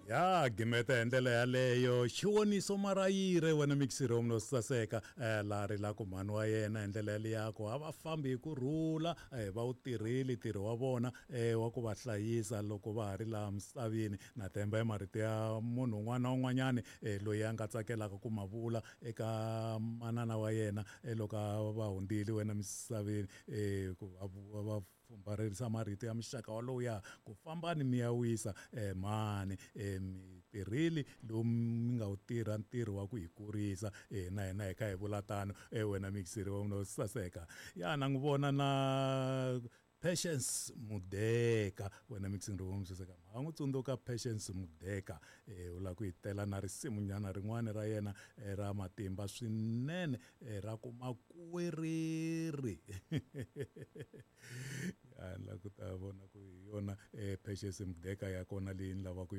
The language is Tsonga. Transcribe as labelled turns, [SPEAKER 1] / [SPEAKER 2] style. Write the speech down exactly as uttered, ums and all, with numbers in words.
[SPEAKER 1] Ya gimeta hi ndlela yaleyo Xivoniso Marayire, wena mixiri wa saseka, eh, laha rilaka mhani wa yena hi ndlela yaliya ku a va fambi hi ku rhula, eh, va wu tirhile ntirho wa vona, eh, wa ku va hlayisa loko va ha ri laha misaveni. Na temba hi marito ya munhu un'wana na un'wanyani, eh, loyi a nga tsakelaka ku ma vula eka manana wa yena, eh, loko a va hundzile wena misaveni, eh, ku va va fumbarherisa marito ya muxaka walowu ku fambani mi ya wisa, eh, mhani, eh, mi tirhile lowu mi nga wu tirha ntirho wa ku hi kurisa, eh, na hina hi kha hi vula tano, eh, wena mixiri wa no saseka. Ya na n'wi vona na Patience Mudeka, wena mixing wa saseka, ma n'wi tsundzuka Patience Mudeka, eh, u lava ku hi tela na risimunyana rin'wana ra yena, eh, ra matimba swinene, eh, ra ku makuwereri. Ya ni lava ku ta vona ku hi yona, eh, Patience Mudeka ya kona leyi ni lavaka yona.